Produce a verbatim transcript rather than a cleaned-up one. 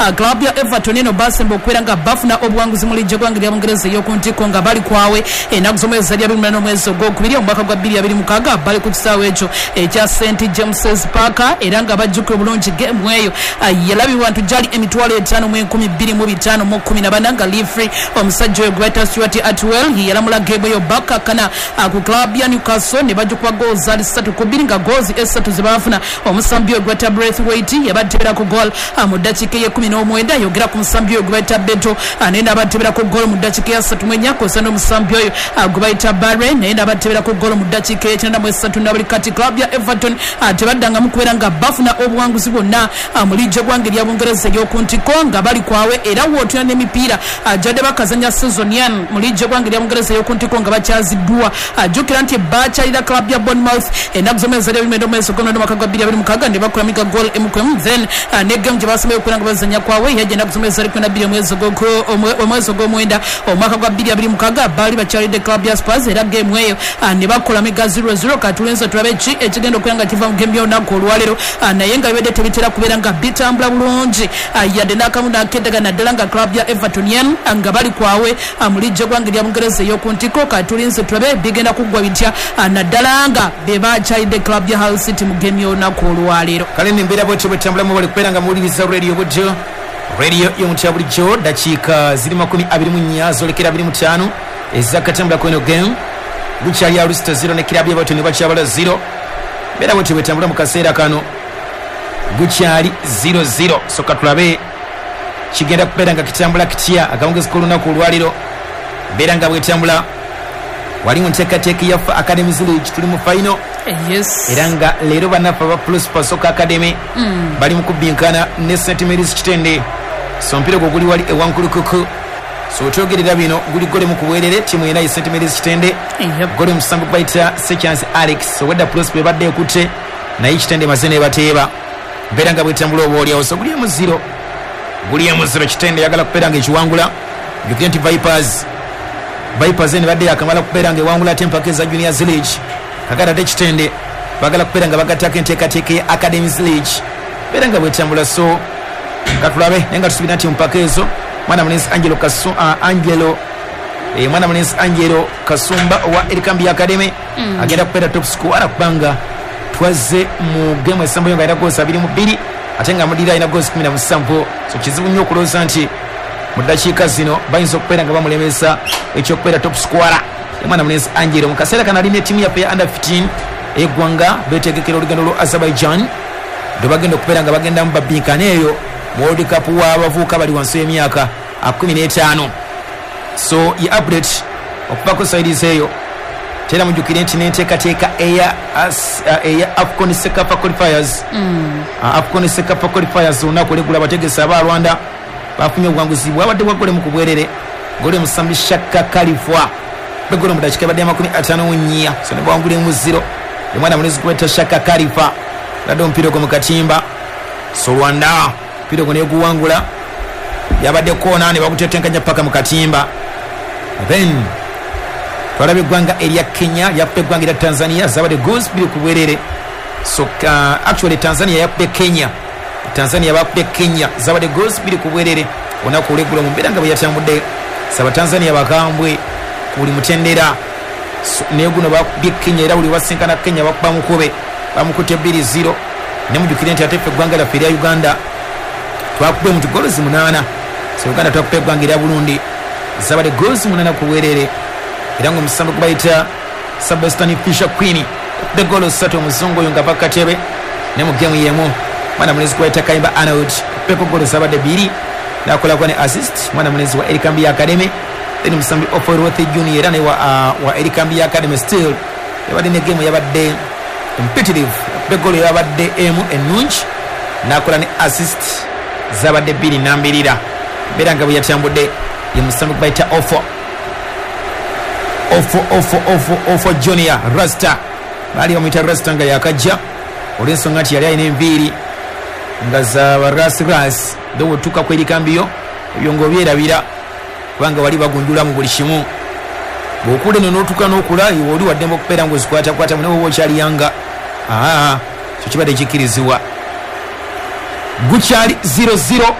nga club ya Everton eno basemba okubeera nga bafuna obuwanguzi mu liigi y'eggwanga lya Bungereza ey'oku ntikko nga bali kwawe ennaku z'omwezi ali abiri munaana omwezi ogwokubiri omwaka gwa bbiri abiri mukaaga, bali ku kisaawe ekyo ekya Saint James's Park. Era nga bajjukira obulungi game eyo yalabibwa nti gyali emitwalo etaano mu enkumi bbiri mu bitaano mu kkumi na bana, nga referee omusajja oyo gweta Stuart Atwell yalamula game eyo. Bakkakkana ku club ya Newcastle ne bajjukuba goals ali ssatu ku bbiri, nga goals esatu ze baafuna, omusambi oyo gweta Braithwaite yabateberako goal mu ddakiika ey'ekkumi n'omwenda. Yogera ku musambi oyo gwe bayita Beto, naye n'abateberako goal mu ddakiika eya ssatu mu ennya, kw'ossa n'omusambi oyo gwe bayita Barre, naye n'abateberako goal mu ddakiika ey'ekyenda mu esatu. Na buli kati club ya Everton tebaddangamu kubeera nga bafuna obuwanguzi bwonna mu liigi y'eggwanga erya Bungereza ey'oku ntikko nga bali kwawe. Era wootuna n'emipiira gyadde bakazanya season yen mu liigi y'eggwanga erya Bungereza ey'oku ntikko nga bakyaziddwa. Jjukira nti bakyalira club ya Bournemouth ennaku z'omwezi ali abiri omwezi ogw'omunaana omwaka gwa bbiri abiri mukaaga ne bakulamiga goal emu ku emu. Then ne game gye basembayo okubeera nga bazanya kwawe yajja ennaku z'omwezi ali kumi na bbiri omwezi ogw'omwenda omwaka gwa bbiri abiri mukaaga, baali bakyalidde club ya Spurs, era game eyo ne bakolamiga zero zero. Katulenze tulabe ki ekigenda okubeera nga kiva mu game y'olunaku olwaleero, naye nga bibadde tebitera kubeera nga bitambula bulungi yadde n'akamu n'akeddaga, naddala nga club ya Everton yen nga bali kwawe mu liigi y'eggwanga erya Bungereza ey'oku ntikko. Katulinze tulabe bigenda kuggwa bitya, naddala nga be bakyalidde club ya Hull City mu game y'olunaku olwaleero. Kale nembeera bwetyo bwetambulamu. Bali kubeera nga muwuliriza radio bujjo, radio y'omutya bulijjo. Dakiika ziri makumi abiri mu nnya zolekera abiri mu ttaano ezakatambula kweno game. Gukyali Alusita zero ne kirabu y'Everton bakyabala zero. Mbeera bwetyo bwetambula mu kaseera kano, gukyali zero zero. So katulabe kigenda kubeera nga kitambula kitya akawungezi k'olunaku olwaliro. Mbeera nga bwetambula wali mu nteekateeka yaffe Academies League, tuli mu final. Yes. Era nga leero bannaffe aba Prosper Soccer Academy mm. bali mu kubbinkana ne Saint Mary's Kitende. So omupiira ogwo guli wali ewankulukuku. So wetwogerera bino guli gole mu kubwerere, tiimu yena ye Saint Mary's Kitende. Yep. Gole musambi bayita Sechance Alex. Obwedda Prosper ebadde ekutte, naye Kitende emaze nebateeba. Mbeera nga bwetambula oba oliawo. So guli emu zero, guli emu zero. Kitende yagala kubeera nga ekiwangula. Jjukire nti Vipers Vipers eno ebadde yakamala kubeera nga ewangula ate empaka eza Juniors League. Kakati ate Kitende bagala kubeera nga bagattako enteekateeka ya Academies League. Mbeera nga bwetambula, so katulabe. Naye nga tusuubira nti mu mpaka ezo mwana mulenzi Angelo Kasu, uh, Angelo eh, mwana mulenzi Angelo Kasumba owa Erikambi Academy mm. agenda kubeera top scorer, kubanga twazze mu game esembayo nga alina goals abiri mu bbiri, ate nga mudira alina goals kumi na musanvu. So kizibu nnyo okulowooza nti mu ddakiika zino bayinza okubeera nga bamulemesa ekyokubeera top scorer, omwana mulenzi Angelo. Mu kaseera kano alina ettiimu yaffe ya under fifteen eggwanga betegekera olugendo lwa Azerbaijan lwe bagenda okubeera nga bagendamu babinkana eyo mu World Cup w'abavubuka bali wansi w'emyaka kumi n'etaano. So ye update okuva ku sides eyo. Tera mujjukire nti n'enteekateeka eya as- eya AFCON CECAFA qualifiers mm. AFCON CECAFA qualifiers, olunaku olweggulo abategesi aba Rwanda bafunye obuwanguzi bwabadde bwa gole mu kubwerere. Gole musambi Shaka Kalifwa begolo mu dakiika ebadde amakumi ataano mu nnya, so ne bawangula emu zero. Omwana mulenzi gweta Shaka Kalifa ladde omupiira ogwo mu katimba. So Rwanda omupiira ogwo neguwangula, yabadde koona ne bagutetenkanya paka mu katimba. Then twalaba eggwanga erya Kenya lyakuba eggwanga erya Tanzania, zabadde goals bbiri ku bwerere. So uh, actually Tanzania yakubye Kenya, Tanzania bakubye Kenya, zabadde goals bbiri ku bwerere olunaku olweggulo. Mu mbeera nga bwe yatambudde, saba Tanzania bakambwe ku buli mutendera. So, naye guno bakubye Kenya, era buli basinkana Kenya bakuba mukube, bamukutte bbiri zero. Ne mujjukire nti ate ffe eggwanga lyaffe erya Uganda twakubye mu goals munaana. So Uganda twakubye eggwanga erya Burundi, zabadde goals munaana ku bwerere, era nga omusambi gwe bayita Sebastian Fisher Queen the goal ssatu, omuzungu oyo nga ava katebe. Ne mu gemu yemu mwana mulenzi gwe bayita Kayimba Arnold peko goal zabadde bbiri nakolako ne assist, mwana mulenzi wa Erikambi Academy. Then omusambi Oforwoth Junior era ne wa, uh, wa Erikambi Academy still yabadde ne gemu yabadde competitive, goal yabadde emu ennungi nakola ne assist, zabadde bbiri nambirira. Mbeera nga bwe yatambudde ye musambi gwe bayita Ofo Ofo Ofo Ofo Ofo Junior Rasta. Baali bamuyita Rasta nga yakajja, olw'ensonga nti yali alina enviiri nga za barasirasi. Though wetuuka ku erikambiyo ebyo ng'obyerabira, kubanga wali bagunjula mu buli kimu. Bw'okula eno n'otuuka n'okula, iwe oli waddembe okubeera ng'ozikwatakwatamu, naye woba okyali yanga, aa, kyo kibadde kikkirizibwa. Gukyali zero zero.